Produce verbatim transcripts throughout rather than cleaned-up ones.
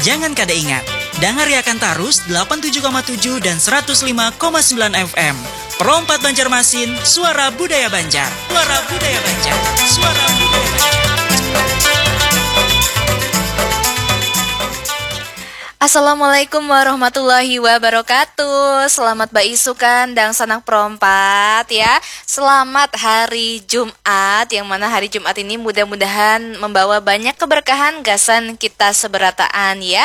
Jangan kada ingat, dangariakan tarus delapan tujuh koma tujuh dan seratus lima koma sembilan F M. Pro empat Banjarmasin, suara budaya Banjar. Suara budaya Banjar. Suara budaya Banjar. Assalamualaikum warahmatullahi wabarakatuh. Selamat baisukan dangsanak Pro empat ya. Selamat hari Jumat, yang mana hari Jumat ini mudah-mudahan membawa banyak keberkahan gasan kita seberataan ya.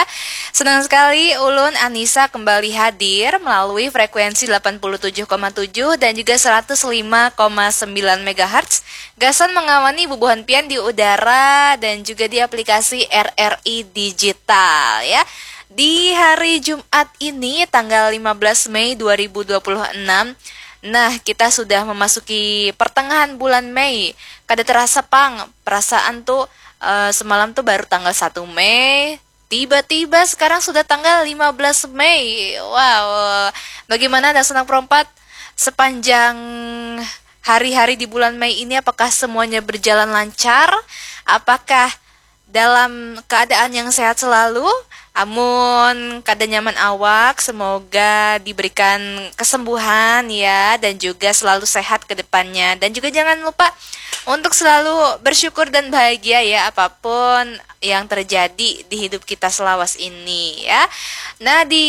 Senang sekali ulun Anissa kembali hadir melalui frekuensi delapan puluh tujuh koma tujuh dan juga seratus lima koma sembilan megahertz. Gasan mengawani bubuhan pian di udara dan juga di aplikasi R R I Digital ya. Di hari Jumat ini tanggal lima belas Mei dua ribu dua puluh enam. Nah, kita sudah memasuki pertengahan bulan Mei. Kada terasa pang, perasaan tuh eh, semalam tuh baru tanggal satu Mei. Tiba-tiba sekarang sudah tanggal lima belas Mei. Wow. Bagaimana dangsanak Pro empat sepanjang hari-hari di bulan Mei ini, apakah semuanya berjalan lancar? Apakah dalam keadaan yang sehat selalu? Amun kada nyaman awak, semoga diberikan kesembuhan ya, dan juga selalu sehat ke depannya. Dan juga jangan lupa untuk selalu bersyukur dan bahagia ya, apapun yang terjadi di hidup kita selawas ini ya. Nah, di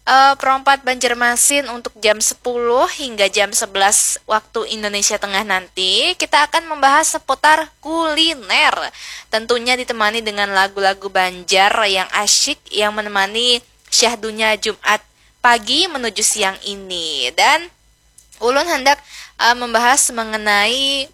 eh, Pro empat Banjarmasin untuk jam sepuluh hingga jam sebelas waktu Indonesia Tengah nanti, kita akan membahas seputar kuliner. Tentunya ditemani dengan lagu-lagu Banjar yang asyik, yang menemani syahdunya Jumat pagi menuju siang ini. Dan ulun hendak eh, membahas mengenai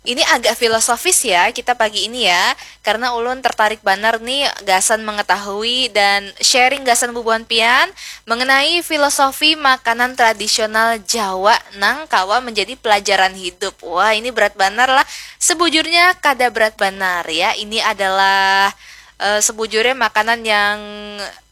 ini agak filosofis ya kita pagi ini ya, karena ulun tertarik banar nih gasan mengetahui dan sharing gasan bubuhan pian mengenai filosofi makanan tradisional Jawa nang kawa menjadi pelajaran hidup. Wah, ini berat banar lah. Sebujurnya kada berat banar ya. Ini adalah eh, sebujurnya makanan yang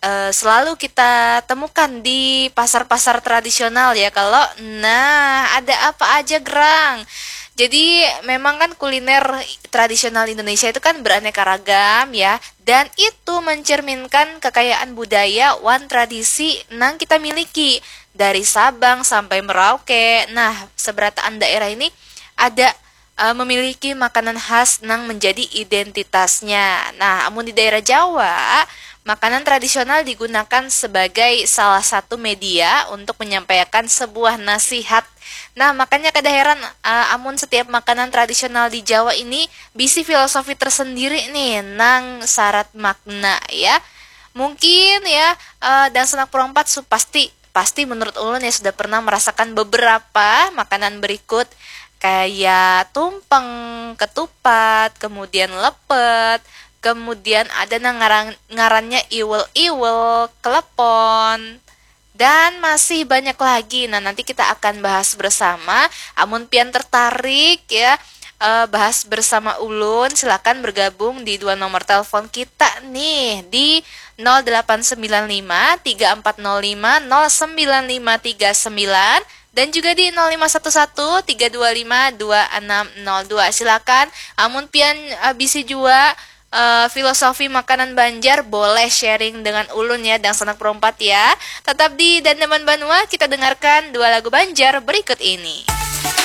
eh, selalu kita temukan di pasar-pasar tradisional ya. Kalau nah, ada apa aja gerang? Jadi memang kan kuliner tradisional Indonesia itu kan beraneka ragam ya, dan itu mencerminkan kekayaan budaya wan tradisi nang kita miliki dari Sabang sampai Merauke. Nah, seberataan daerah ini ada eh, memiliki makanan khas nang menjadi identitasnya. Nah, amun di daerah Jawa, makanan tradisional digunakan sebagai salah satu media untuk menyampaikan sebuah nasihat. Nah, makanya kada heran eh, amun setiap makanan tradisional di Jawa ini bisi filosofi tersendiri nih nang syarat makna ya. Mungkin ya eh, dangsanak Pro empat su pasti pasti menurut ulun ya sudah pernah merasakan beberapa makanan berikut kayak tumpeng, ketupat, kemudian lepet, kemudian ada nang ngaran, ngarannya iwel-iwel, klepon, dan masih banyak lagi. Nah, nanti kita akan bahas bersama. Amun pian tertarik ya eh, bahas bersama ulun, silakan bergabung di dua nomor telepon kita nih di nol delapan sembilan lima tiga empat nol lima nol sembilan lima tiga sembilan dan juga di nol lima satu satu tiga dua lima dua enam nol dua. Silakan, amun pian eh, bisi jua eh, filosofi makanan Banjar, boleh sharing dengan ulun ya, dangsanak Pro empat ya. Tetap di Dandaman Banua, kita dengarkan dua lagu Banjar berikut ini.